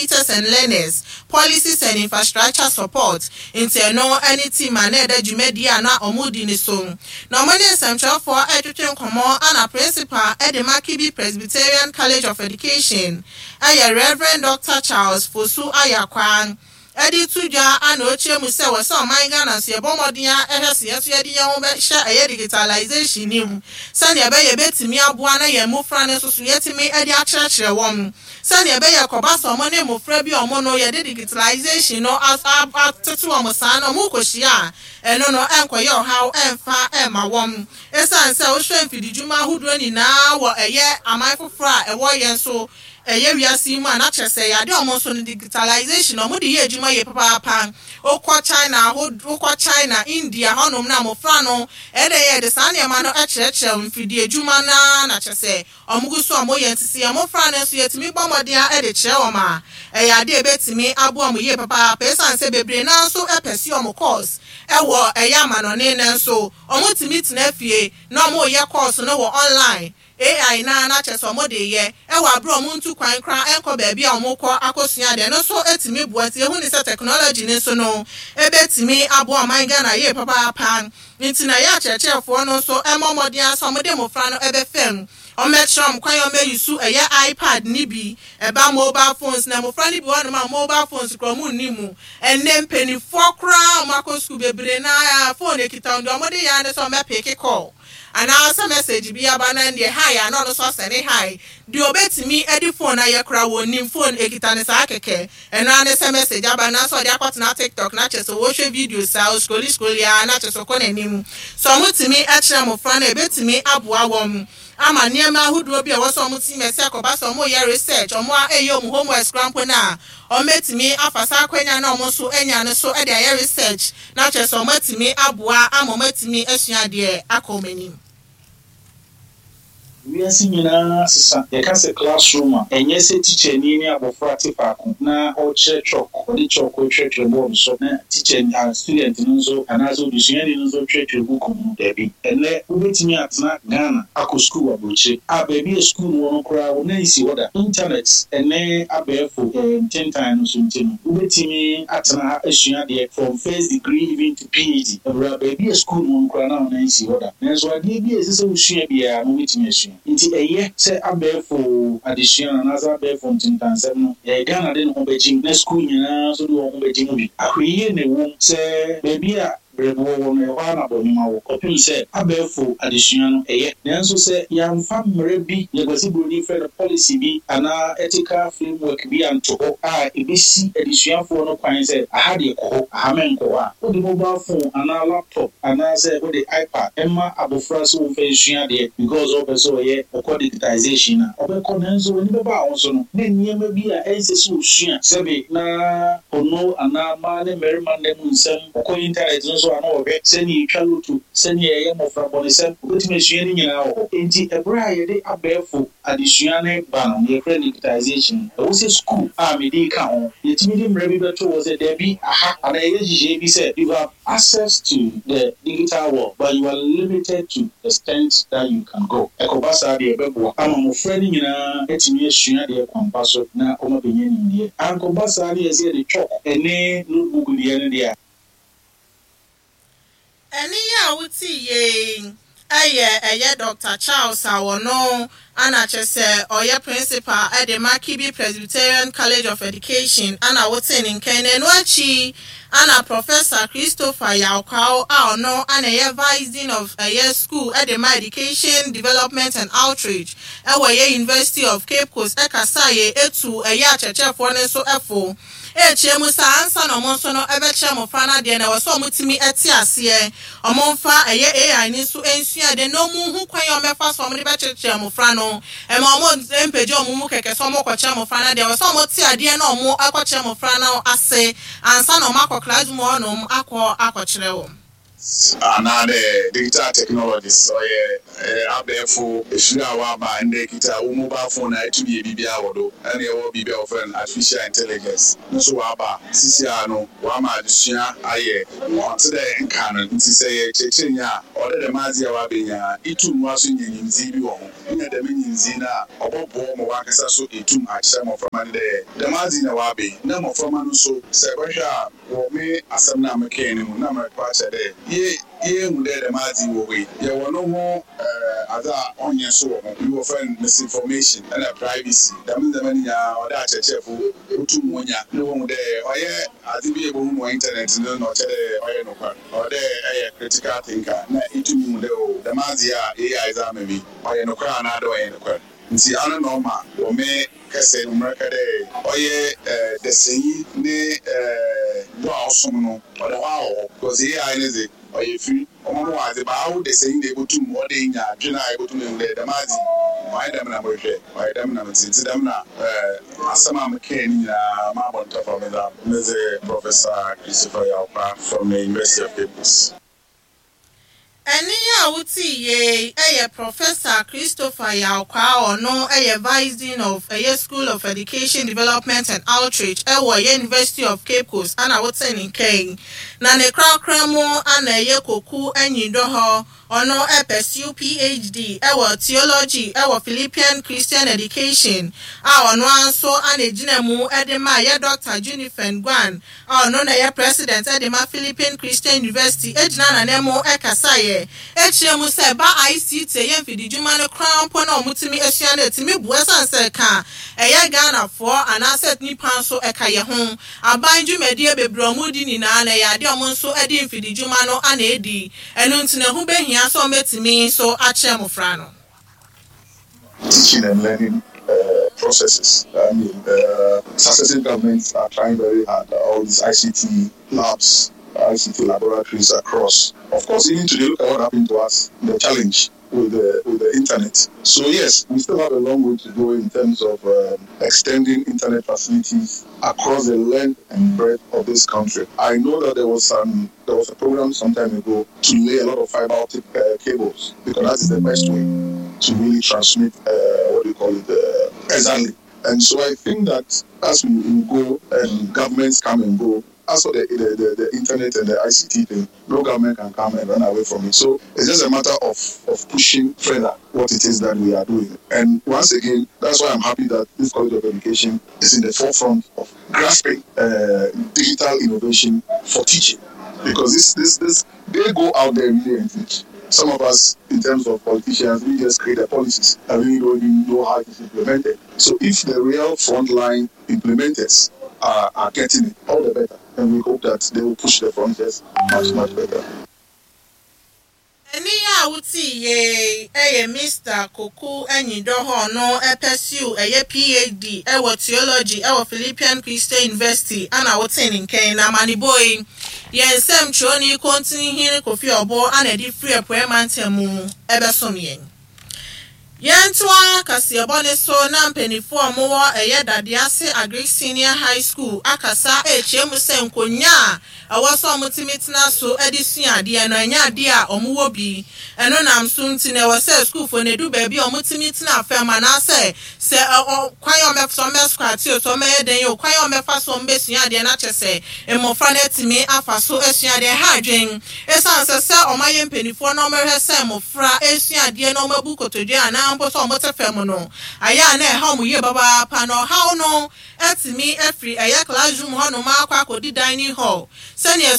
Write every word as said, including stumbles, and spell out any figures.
Teachers and Learners, Policies and Infrastructure Support. Nti ɛno ne team a na ɛda dwumadie a na ɔmo di ne so. Na ɔmo ne nsɛmtwerɛfoɔ ɛretwetwe nkɔmmɔ ana principal ɛde ma Kibi Presbyterian College of Education, ɛyɛ Reverend Doctor Charles Fosu Ayakwan, ɛde to dwa ana okyerɛ mu sɛ wɔ sɛ ɔman Ghana nso yɛbɔ mmɔden a ɛhwɛ sɛ yɛn nso yɛde yɛn ho bɛhyɛ ɛyɛ digitalization ne mu, sɛnea ɛbɛyɛ bɛtumi aboa na yɛn mmɔfra no nso so yɛtumi ɛde akyerɛkyerɛ wɔn, sɛnea ɛbɛyɛ kɔba sɛ ɔmo ne mmɔfra bi a ɔmo no yɛde digitalization no atete wɔn saa na ɔmo kɔhyia a, ɛno no ɛnkɔyɛ ɔhaw ɛmfa ɛmma wɔn, ɛsiane sɛ wohwɛ mfididwuma ahodoɔ nyinaa wɔ ɛyɛ aman foforɔ a ɛwɔ yɛn so ɛyɛ wiase yi mu a, na kyerɛ sɛ yɛade ɔmo nso no digitalization ɔmo de yɛ adwuma yɛ papaapa. Wokɔ China aho, wokɔ China, India hɔnom na mmɔfra no ɛdɛ yɛ de saa nneɛma no ɛkyerɛkyerɛ mfidie adwuma naa, na kyerɛ sɛ ɔmo gu so ɔmo yɛ. Nti sɛ mmɔfra no nso yɛtumi bɔ mmɔden a ɛde kyerɛ wɔn a, ɛyɛ adeɛ ebɛtumi aboa ɔmo yie papaapa, ɛsiane sɛ bebree naa nso ɛpɛ si ɔmo course ɛwɔ ɛyɛ amanɔne no nso ɔmo tumi tena fie na ɔmo yɛ course no wɔ online A I na na kyerɛ sɛ ɔmo de yɛ ɛwɔ abere ɔmo ntu kwan kora ɛnkɔ baabi a ɔmo kɔ akɔsua deɛ no nso etumi boa. Nti ehu ne sɛ technology ne nso no ebetumi aboa ɔman Ghana yie papaapa. Nti na yɛ akyerɛkyerɛfoɔ no nso ɛmɔ mmɔden asɛ ɔmo de mmɔfra no ɛbɛfɛm, ɔmɛkyerɛ ɔmo kwan a ɔmɛyi so ɛyɛ iPad ne bi ɛba mobile phones, na mmɔfra no bi wɔ hɔnom a mobile phones kora ɔmo nni mu. Ɛnɛ mpanimfoɔ koraa ɔmo akɔ sukuu bebree na phone ekita wɔn deɛ, ɔmo de yɛ ano sɛ ɔmɛ pick call anaasɛ message bi aba na deɛ hi a, na ɔno nso asɛne hi. Deɛ obetumi de phone ayɛ koraa wɔ nim phone ekita ne saa kɛkɛ, ɛno ara ne sɛ message aba na sɛ ɔde akɔtena TikTok na kyerɛ sɛ wɔhwɛ video saa, oscrolli scrolli a, na kyerɛ sɛ ɔkɔ n'anim. Sɛ ɔmo tumi kyerɛ mmɔfra no, ebetumi aboa wɔn ama nneɛma ahodoɔ bi a ɛwɔ sɛ ɔmo ti mɛsɛ akɔba sɛ ɔmo yɛ research, ɔmo a ɛyɛ ɔmo homework koraa mpo na ɔmo etumi afa saa akɔnya na ɔmo nso anya no so ɛde ayɛ research, na kyerɛ sɛ ɔmo atumi aboa ama ɔmo atumi asua adeɛ akɔ ɔmo anim. Wiase nyinaa sesa. Yɛka sɛ classroom a, ɛnyɛ sɛ tikyani ne abɔfra te faako na ɔrekyerɛ chalk, ɔde chalk retwerɛtwerɛ board so na teacher a student no nso anaasɛ odesuani no nso retwerɛtwerɛ book mu. Daabi, ɛnɛ wobɛtumi atena Ghana akɔ school wɔ aburokyire a baabi a school wɔ no koraa wo nan si hɔ da. Internet ɛnɛ abɛɛfo ɛɛ ntentan no so nti no, wobɛtumi atena ha asua adeɛ from first degree even to P H D ɛwura baabi a school wɔ no koraa na wo nan si hɔ da. Nanso adeɛ bi a ɛsɛ sɛ wosua biara no, wobɛtumi asua. Nti ɛyɛ sɛ abɛɛfo adesua no anaasɛ abɛɛfo ntentansɛm no, ɛyɛ Ghana de ne ho bɛgye mu na sukuu nyinaa nso de wɔn ho bɛgye mu bi. Ahwɛyie na ɛwɔ mu sɛ baabi a brɛboɔ wɔ no, ɛhɔ ara na bɔnwoma wɔ, kɔpem sɛ abɛɛfo adesua no ɛyɛ. Nanso sɛ yɛamfa mmerɛ bi, yɛkwasi buroni frɛ no policy bi anaa ethical framework bi anto hɔ a ɛbɛsi adesuafoɔ no kwan sɛ aha deɛ kɔ hɔ, aha mɛnkɔ hɔ a, wode mobile phone anaa laptop anaasɛ wode iPad ɛma abɔfra sɛ wɔmfa nsua adeɛ because ɔpɛ sɛ ɔyɛ ɔkɔ digitization a ɔbɛkɔ, nanso w'ani bɛba a wo so no na nneɛma bi a ɛnsɛ sɛ ɔsua, sɛbe na ɔno anaa mmaa ne mmarima nna mu nsɛm, ɔkɔ internet no so a na ɔhwɛ sɛnea ɛtwa lotto, sɛnea ɛyɛ mmɔfra bɔnesɛm, wobɛtumi asua no nyinaa wɔ hɔ. Enti ɛberɛ a yɛde abɛɛfo adesua ne ba no, yɛfrɛ no digitization, ɛwɔ sɛ school a mede ka ho yɛtumi de mmerɛ bi bɛto wɔ sɛ daabi, aha anaa yɛyɛ nhyehyɛe bi sɛ you have access to the digital world but you are limited to the extent that you can go. Ɛkɔba saa deɛ, ɛbɛboa ama mmɔfra no nyinaa atumi asua deɛ kwampa so na ɔma bɛnya nimdeɛ. Ankɔba saa ne yɛ sɛ yɛde chalk ɛne notebook deɛ no deɛ a Ɛne yɛ a wote yie ɛyɛ ɛyɛ Doctor Charles a wɔno ana kyerɛ sɛ ɔyɛ principal ɛde ma Kibi Presbyterian College of Education ana wote ne nkɛn. Na ɛno akyi ana Professor Christopher Yawkaw a ɔno ana ɛyɛ vice dean of ɛyɛ school ɛde ma education development and outreach ɛwɔ ɛyɛ University of Cape Coast ɛkasa yɛ etu ɛyɛ akyerɛkyerɛfoɔ no nso ɛfo ekyia mu saa ansa na ɔmo nso no ɛbɛkyerɛ mmɔfra no adeɛ na ɛwɔ sɛ ɔmo tumi ɛte aseɛ, ɔmo nfa ɛyɛ A I ne nso nsua adeɛ na ɔmo hu kwan a ɔmo so ɔmo de bɛkyerɛkyerɛ mmɔfra no. Ɛma ɔmo mpagya ɔmo mu kɛkɛ sɛ ɔmo kɔkyerɛ mmɔfra no adeɛ, ɛwɔ sɛ ɔmo te adeɛ na ɔmo akɔkyerɛ mmɔfra no ase ansa na ɔmo akɔ classroom hɔnom akɔ akɔkyerɛ wɔn. Anaadɛ digital technologies ɔyɛ abɛɛfo efiri a waba ndɛ kita wo mobile phone a ɛtumi yɛ biribiara wɔ do. Ɛna ɛwɔ biribi a wɔfrɛ no artificial intelligence nso waba sisi a no wama adesua ayɛ ɔnte dɛ nka no. Nti sɛ yɛ kyerɛkyerɛnyi a ɔde dɛm adze a wabɛnya itum wa so nya nyimdzee bi wɔ ho. Enya dɛm nyinzi na ɔbɔboɔ ma wankasa so etum akyerɛ mmɔframma no dɛ dɛm adze na wabɛ na mmɔframma no nso sɛ ɛbɛhwɛ a wɔ me asɛm no a mekɛn no mu na mɛkɔ akyerɛ dɛ ye yɛhu dɛ dɛm adze wɔ hɔ yi, yɛwɔ no ho ɛɛ adze a ɔnyɛ so wɔ ho bi, wɔfrɛ no misinformation ɛna privacy. Dɛm ndzɛmba no nyinaa ɔdɛ akyerɛkyerɛfo wotum wonya na wɔhu dɛ ɔyɛ adze bi a ebohu no wɔ internet no na ɔkyerɛ dɛ ɔyɛ nokwar. Ɔwɔ dɛ ɛyɛ critical thinker na etumi hu dɛ o, dɛm adze a A I dze ama mi, ɔyɛ nokwar anaa dɛ ɔyɛ nokwar. Nti ano na ɔma wɔ me kɛsɛ no mmerɛka dɛ ɔyɛ ɛɛ dɛsɛnyi ne ɛɛ bo a ɔsom no ɔda hɔ a wɔ hɔ because A I ne dze ɔyɛ firi ɔmo mo wɔ adze baawo dɛsɛnyi na ebotum ɔde nya adwene a ebotum ehu dɛ dɛm adze ɔyɛ dɛm na mohwɛ, ɔyɛ dɛm na mete. Nti dɛm na ɛɛ asɛm a mekɛɛ no nyinaa maabɔ ntɔfa. Medza medze Professor Christopher Yawkwa from the University of Cape Coast. Ɛne a wote yie ɛyɛ Professor Christopher Yawkwa. Ɔno ɛyɛ Vice Dean of ɛyɛ School of Education Development and Outreach ɛwɔ ɛyɛ University of Cape Coast ana wote ne nkɛn na ne korakora mu ana ɛyɛ Koku Anyidɔ hɔ. Ɔno ɛpursue P H D ɛwɔ theology ɛwɔ Philippine Christian Education a ɔno nso ana egyina mu ɛde ma ɛyɛ Doctor Junifen Guan a ɔno na ɛyɛ president ɛde ma Philippine Christian University egyina n'anan mu ɛkasa yɛ ekyirɛ mu sɛ ba I C T ɛyɛ mfididwuma no koraa mpo na ɔmo asua no etumi bu ɛsan sɛ ka ɛyɛ Ghanafoɔ anaasɛ nipa nso ɛka yɛ ho aban dwumadie bebree ɔmo di nyinaa na ɛyɛ adeɛ ɔmo nso ɛde mfididwuma no ana edi. Ɛno nti na ɛho behia sɛ ɔmo etumi nso akyerɛ mmɔfra no. Teaching and learning uh, processes. I mean, uh, successive governments are trying very hard. All these I C T labs, I C T laboratories across. Of course, even today, look at what happened to us, the challenge with the, with the internet. So yes, we still have a long way to go in terms of um, extending internet facilities across the length and breadth of this country. I know that there was some there was a program some time ago to lay a lot of fiber optic uh, cables because that is the best way to really transmit uh, what do you call it, uh, exactly. And so I think that as we, we go and governments come and go, as for the, the, the, the internet and the I C T thing, no government can come and run away from it. So it's just a matter of, of pushing further what it is that we are doing. And once again, that's why I'm happy that this College of Education is in the forefront of grasping uh, digital innovation for teaching. Because this, this, this, they go out there really and teach. Some of us, in terms of politicians, we just create the policies and we don't even know how it is implemented. So if the real frontline implementers are, are getting it, all the better. And we hope that they will push the frontiers much, much better. Ɛni a wote yie ɛyɛ Mister Koku Anyidɔ no ɛpursue ɛyɛ P H D ɛwɔ theology ɛwɔ Philippine Christian University ana wote ne nkɛn na amanibɔ yi yɛn nsɛm twerɛni Kɔntinhene Kofi Ɔbɔ ana ɛde firi Apuɛ Mantam mu ɛbɛsom yɛn. Yɛntoa kaseɛbɔ ne so na mpanimfoɔ a wɔwɔ ɛyɛ Dadease Agric Senior High School akasa ekyia mu sɛ nkonnwa a ɛwɔ sɛ wɔtumi tena so de sua adeɛ no ɛnyɛ adeɛ a wɔwɔ bi. Ɛno nam so nti na ɛwɔ sɛ sukuufoɔ no edu baabi a wɔtumi tena fam anaasɛ sɛ ɔ kwan a wɔmɛfa so wɔmɛ squat o, so wɔmɛyɛ den o, kwan a wɔmɛfa so wɔmbɛsua adeɛ no akyɛ sɛ mmɔfra no atumi afa so asua adeɛ. Ha adwen ɛsiane sɛ sɛ ɔmayɛ mpanimfoɔ na wɔmɛhwɛ sɛ mmɔfra esua adeɛ na wɔabu kotodwe anaa mpo sɛ wɔte fam no ayɛ a na ɛha wɔn yie papaapa. Na ɔhaw no atumi afiri ɛyɛ classroom hɔnom akɔ akɔdi dining hall sɛnea